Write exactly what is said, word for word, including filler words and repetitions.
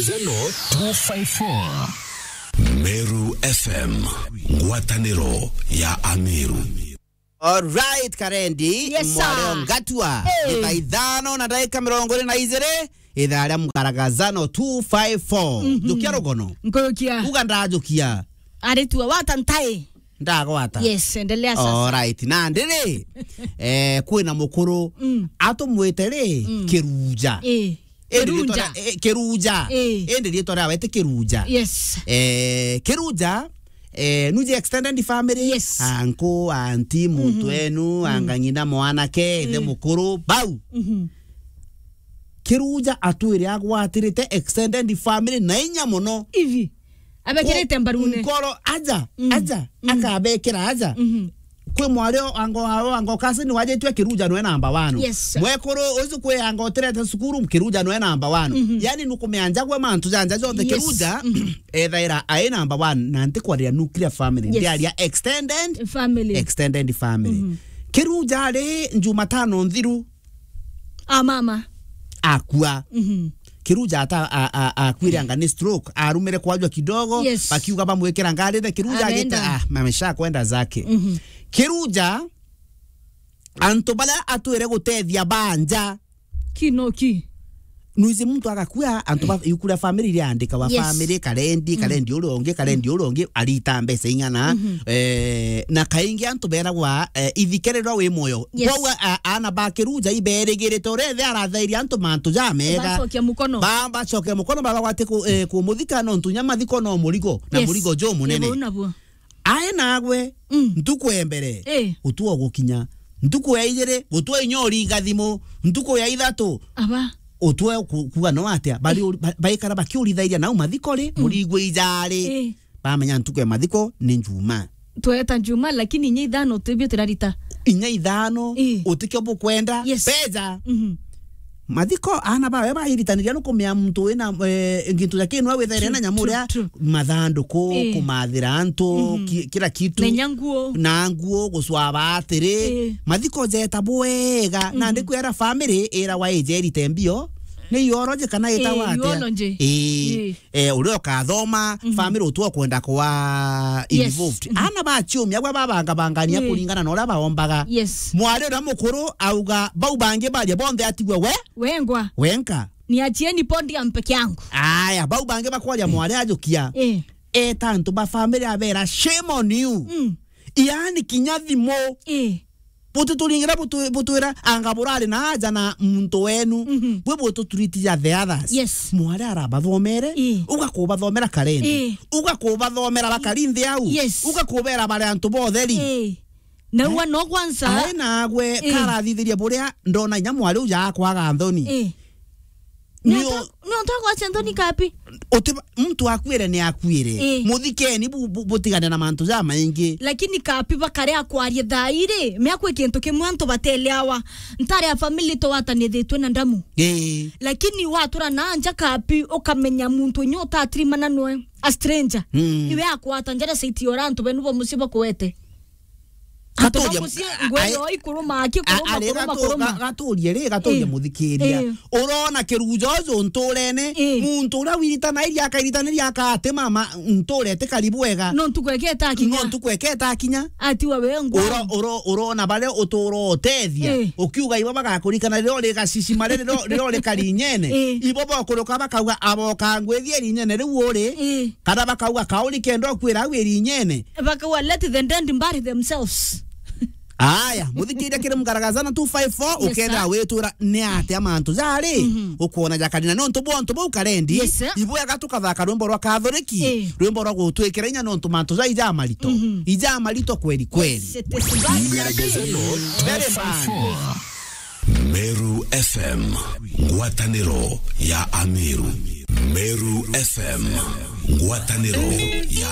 Zeno two five four. Meru F M, ngwataniro ya Ameru. Alright, Karendi, yes, sir. Mwareo Ngatua. Hey. Ni thaa ithano na ndagika mirongo iri na ijiri, ithaa ria Mkaragazano two five four. Mhm. Njukia rugono. Nkujukia. Uga ndajukia. Aritua wata ntai. Ndagwata. Yes, endelea sasa. Alright. Na ndiri, eh, kwina mukuru, mm, atumwite ri, mm, Kiruja. Eh. Indi Kirunja. Ritwa ria, eh, Kiruja. Eh. Indi ritwa riawe ti Kiruja. Yes. Eh, Kiruja, eh, nuje extended family. Yes. Anko, anti, muntu, mhm, enu, mm, anga ng'ina mwanake, ithe, mm, mukuru, bau. Mhm. Kiruja atwire agwatirite extended family na inya mono. Ivi. Abekirite mbarune. Nkoro, aja, mm, aja, mm, akabekira aja. Mhm. Kwi mwari o ango ao ango kasi ni wajitwe Kiruja nwe namba one. Yes, sir. Mwekuru uju kwi ango tirete cukuru Kiruja nwe namba one. Mhm. Yani nukumenya njagwe mantu janja jonthe, yes, Kiruja, mhm, ethaira ai namba one na ntikwaria nuclear family. Yes. Ndiaria extended family. Extended family. Mhm. Kiruja ari Jumatano nthiru. A mama. Akua. Mhm. Kiruja ata a, a, akuire anga ni stroke. Arumire kwajwa kidogo. Yes. Bakiuga bamwikira ngari, the Kiruja agita, arenda, ah, mamesha kwenda zake. Mhm. Kiruja, antu baria atwire gutethia banja. Kinoki. Nuizi muntu agakua, antu ba, iku ria family iriandikawa, yes, family, Karendi, mm, Karendi uria ungi, Karendi uria ungi, arita mbeca ing'ana. Mhm. Eh, na kaingi antu beragwa, eh, ithike riria wi muoyo. Yes. Kwou a, ana ba Kiruja iberigirite uria ithe arathairie antu mantu jamega. Bacokia mukono. Ba, bacokia mukono, baba gwati ku, eh, kumuthika nontu nya mathiko no murigo, na, yes, murigo jumunene. Ebo nabuo. Ae nagwe, mm, ntuku ya mbere, eh, gutwa gukinya. Ntuku ya ijiri, gutwa inya uringa thimu. Ntuku ya ithatu, aba, gutwa ku, kuga no atia? Bari, eh, uri, ba, baikara bakiurithairia nau mathiko ri, mm, murigwe ijari. Eh. Bamenya ntuku ya mathiko ni Njuma. Tweta Njuma, lakini inya ithano tibio turarita. Inya ithano, eh, utikio bukwenda, yes, beja. Mhm. Mathiko, ana bawe bairitaniria nukumenya muntu wina, eh, gintu ja kinwa withaire, true, na nyamu, true, uria, true, mathanduku, eh, kumathira antu, mhm, ki, kila kitu. Menya nguo. Na nguo, gucwaba atiri. Eh. Mathiko jeta bwega, na, mhm, ndikwira family ira wa ijerite mbio, ni urology kana, eh, itawa atia? Urology. Eh. Eh. Eh, uria ukathoma, mhm, family utu ukwenda kwa, yes, involved. Mhm. Ana ba ciumia gwa babangabangania, eh, kuringana na uria baombaga. Yes. Mwari uria mukuru auga, bau bangi baria bonthe atigwe we? Wengwa. Wenka. Niachieni podium peke yangu. Aya, bau bangi bakwaria mwari ajukia. Eh. Eta antu ba family abera, "Shame on you." Mm. Yaani kinya thimu. Eh. Butituringira butu-, butwira, anga burari na aja na muntu wenu. Mhm. Bwe bututreat ja the others. Yes. Mwari arabathomere, eh, ugakubathomera Karendi. Eh. Ugakubathomera bakari nthi au. Yes. Ugakubera bari antu botheri. Eh. Na, eh, ua no kwanza. Ae nagwe, eh, karathithiria buria ndona inya mwari uja akwaga nthoni. Eh. Nio- Niontu, niontu agwacia nthoni kapi? Uti, muntu akuire ni akuire. Eh. Muthikeni bu, bu, butigane na mantu ja maingi. Lakini kapi bakare akwarie thaa iri, miaku kintu kimwe antu bateleawa. Ntare ya family twatanithitwe na ndamu. Eh. Lakini watura na nja kapi ukamenya muntu nyo utatirimana nwe, a stranger. Mm. Iwe akwata njara saiti ora antu benu bo mucii bakuete. Antu ba mucii, ngwe yo ikuruma, akikuruma, ari kuruma, gatu-, kuruma. Ga-, gaturie ri, gaturie, eh, muthikiria. Eh. Urona Kiruja uju nturene, eh, muntu uria wiritanairia akairitaniria akati mama nture ti karibu wega. No ntuku eketa akinya. No ntuku eketa akinya. Atiwa we ngwa. Uro-, uro-, urona baria utura utethia. Eh. Ukiuga ibo bagakurikana riria uri gacicima riria, riria uri karinyene. Eh. Ibo bokuruka bakauga aboka ngwithie rinyene riu uri. Eh. Kana bakauga kauri kenda ukwira au irinyene. Bakauga, "Let the dead bury themselves." Aya, muthikiria kiri Mgaragazana two five four, yes, ukethira sir, witwira ni atia mantu jari, mhm, ukwona jakarina nontu bwa untu bau Karendi, yes, sir, ibwega tukathaka rwimbo rwa Kathoriki, eh, rwimbo rwa gutwikira inya nontu mantu jai jamarito, mhm, ijamarito kweli kweli. Yes, it is bad. Mgaragazano very bad. Meru F M, ngwataniro ya Ameru. Meru F M, ngwataniro ya